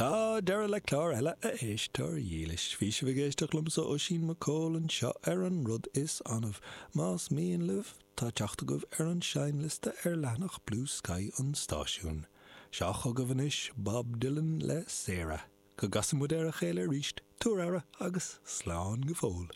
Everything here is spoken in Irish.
Tá deireadh le clár eile, a éisteoir dhílis. Bhí sibh ag éisteacht liomsa, Oisín Mac Cóil, anseo ar An Rud Is Annamh. Más mian libh, tá teacht agaibh ar an seinnliosta ar leathanach Bluesky an stáisiúin. Seo chugaibh anois Bob Dylan le Sarah. Go gcasa muid ar a chéile arís, tabhair aire agus slán go fóill.